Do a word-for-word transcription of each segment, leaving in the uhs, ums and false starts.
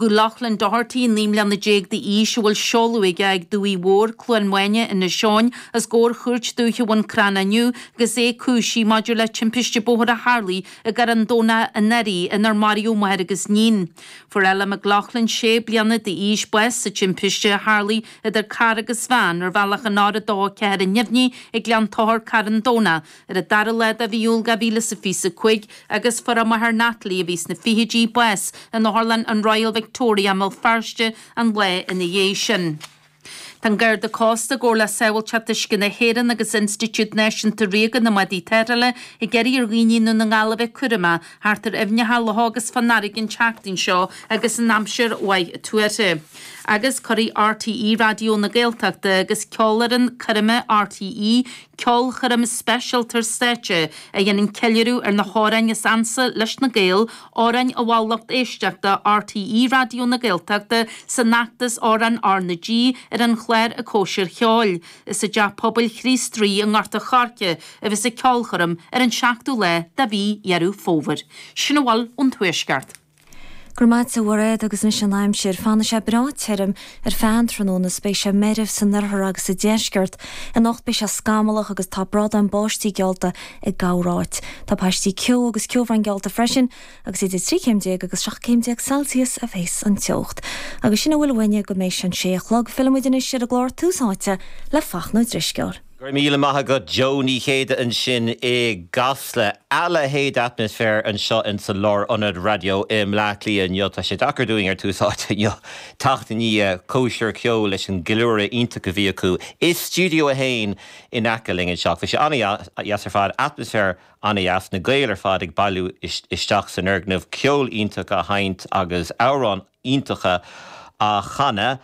Rugadh Loughlin Doherty, naoi mbliana déag d'aois, a bhfuil seoladh aige ag Dumhaigh Mhór, Cluain Mháine, Inis Eoghain, os comhair Chúirt Dúiche Bhun Cranncha inniu agus é cúisithe maidir le timpiste bóthair a tharlaigh i gCarn Domhnach anuraidh inar maraíodh máthair agus níon. Fuair Ella McLaughlin, sé bliana d'aois, bás sa timpiste a tharlaigh idir carr agus veain ar bhealach an R a dó a ceathair Neimhní ag Gleann Tochair, Carn Domhnach, ar an dara lá de mhí Iúil dhá mhíle is a fiche a cúig agus fuair a máthair Natalie, a bhí sna fichidí, bás in otharlann an Royal Victoria i mBéal Feirste an lá ina dhiaidh sin. Tá an Garda Cósta i gcomhar le Sábháilteacht Uisce na hÉireann agus Institiúid Náisiúnta Ríoga na mBádaí Tarrthála ag iarraidh ar dhaoine i nDún na nGall a bheith cúramach thart ar aibhneacha, locha agus fán fharraige an tseachtain seo agus an aimsir mhaith tuartha. Agus cuirfidh R T E Raidió na Gaeltachta agus Ceolfhoireann Coirme R T E ceolchoirm speisialta ar stáitse a dhéanann ceiliúradh ar na hamhráin is ansa leis na Gaeil, amhráin a mhol lucht éisteachta R T E Raidió na Gaeltachta san fheachtas Amhráin R na G ar an chlár An Chóisir Cheoil. Is i dTeach Pobail Chríost Rí i nGort a' Choirce a bheas an ceolchoirm ar an seachtú lá de mhí Dheireadh Fómhair. Sin a bhfuil ón Tuaisceart. Go raibh maith agat, a Mhairéad, agus anois an aimsir. Fanfaidh sé breá tirim ar feadh an tráthnóna is beidh sé meirbh san oirthear agus sa deisceart. Anocht beidh sé scamallach agus tá brádán báistí geallta i gcorráit. Tá paistí ceo agus ceobhrán geallta freisin agus idir trí chéim déag agus seacht céim déag Celsius a bheas an teocht. Agus sin a bhfuil uainne go mbeidh an sé a chlog fillfimid anois ar an gclár Tús Áite le Fachtna Ó Drisceoil. Go raibh míle maith agat, Joe Ní Chéide, ansin i gCasla. A leithéid d'atmaisféar anseo in sa lárionad raidió i mBleá Cliath inniu. Tá sé deacair dúinn ar Tús Áite inniu teacht i ndiaidh Cóisir Ceoil leis an gceiliúradh iontach a bhí acu i Studio a haon in aice linn anseo. Bhí sé an-deas ar fad, atmaisféar an-deas, na Gaeil ar fad ag bailiú isteach san fhoirgneamh, ceol iontach á sheinnt agus amhráin iontacha á chanadh.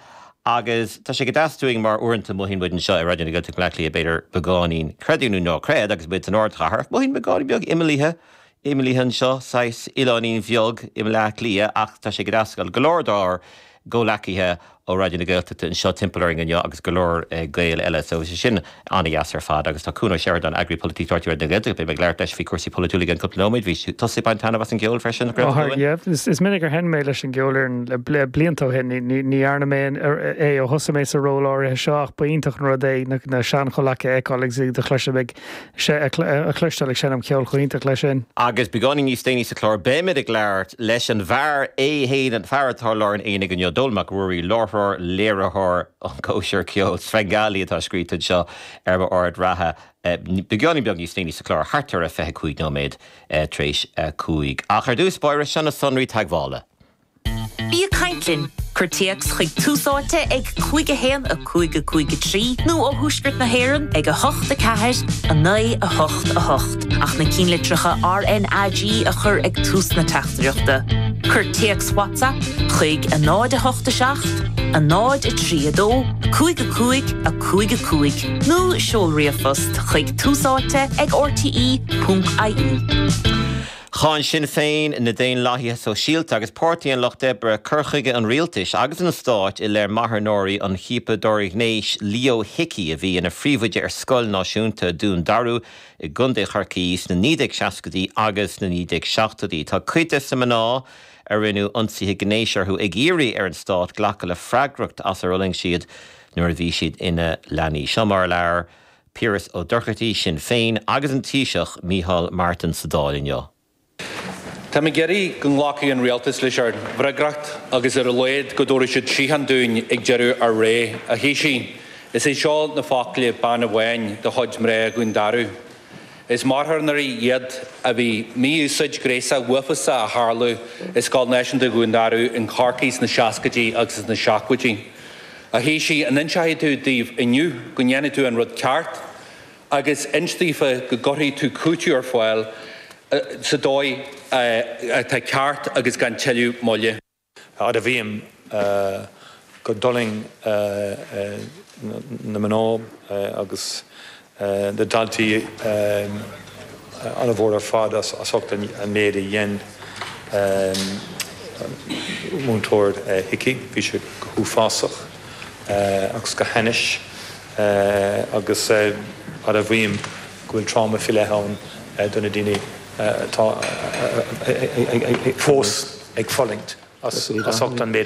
Agus tá sé go deas dúinn mar uaireanta mothaíonn muid anseo i Raidió na Gaeltachta Bleá Cliath b'fhéidir beagáinín, creid nó ná creid, agus muid san ardchathair, mothaíonn beagáinín beag imeallaithe imeallaithe anseo, saghas oileáinín bheag i mBleá Cliath, ach tá sé go deas go leor dár gcomhghleacaithe ó Raidió na Gaeltachta anseo timpeall orainn inniu agus go leor Gael eile, so sé sin an-deas ar fad. Agus tá Cuan Ó Seireadáin, eagraí polaitíochta Raidió na Gaeltachta, beidh mé ag labhairt leis faoi cúrsaí polaitiúla i gceann cúpla nóiméad. Bhí tusa ag baint taitneamh as an gceol freisin? Is minic gur sheinn mé leis an gceolfhoireann le blianta ó shin. Ní dhearna mé é ó thosaigh mé sa ról áirithe seo ach ba iontach an rud é na seanchomhghleacaithe a fheiceáil agus iad a chloisim ag a chloisteáil ag seinm ceol chomh hiontach leis sin. Agus beagáinín níos déanaí sa chlár beimid ag labhairt leis an bhfear é féin, an fear atá i lár an aonaigh inniu, Dónall Mac Ruairí, láithreoir, léiritheoir an Cóisir Ceoil Svengali atá scríte anseo ar mo ord reatha. Beagáinín beag níos déanaí sa chlár, thart ar a fiche cúig nóiméad tar éis a cúig. Ach ar dtús báire, seo na sonraí teagmhála. Bí ag caint linn. Cuir téacs chuig Tús Áite ag cúig a haon a cúig a cúig a trí nó ó Thuaisceart na hÉireann ag a hocht a ceathair a naoi a hocht a hocht ach na cinnlitreacha R N A G a chur ag tús na teachtaireachta. Cuir téacs WhatsApp chuig a náid a hocht a seacht, a náid a trí a dó, cúig a cúig a cúig a cúig nó seol ríomhphost chuig túsáite ag R T E ponc I E. Cháin Sinn Féin, na Daonlathaithe Sóisialta agus Páirtí an Lucht Oibre cur chuige an rialtais agus an stáit i leith marthanóirí an chiapadóra gnéis Leo Hickey, a bhí ina phríomhoide ar Scoil Náisiúnta Dún Darú i gContae Chorcaí sna naoi déag seascaidí agus sna naoi déag seachtóidí. Tá cuid de na mná a rinneadh ionsaithe gnéis orthu ag iarraidh ar an stát glacadh le freagracht as ar fhulaing siad nuair a bhí siad ina leanaí. Seo mar a labhair Piaras Ó Dochartaigh, Sinn Féin, agus an Taoiseach Micheál Martin sa Dáil inniu. Tá mé ag iarraidh go nglacfaidh an rialtas leis ár bhfreagracht agus ar a laghad go dtabharfaidh siad síocháin dúinn ag deireadh ár ré. A Thaoisigh, is é seo na focla bean amháin de chuid mná Dhún Darú. Is marthanóirí iad a bhí mí-úsáid ghnéasach uafásach a tharla i Scoil Náisiúnta Dhún Darú in Corcaigh sna seascaidí agus sna seachtóidí. A Thaoisigh, an inseoidh tú dóibh inniu go ndéanfaidh tú an rud ceart agus inis daofa go gcuirfidh tú cúiteamh ar fáil sa dóigh atá ceart agus gan tuilleadh moille. Admhaím go bhfulaing na mná agus na daltaí an-mhór ar fad as ucht an méid a dhein múinteoir Hickey. Bhí sé go huafásach agus go hainnis agus admhaím go bhfuil tráma faoi leith ann do na daoine atá fós ag fulaingt as ucht an méid a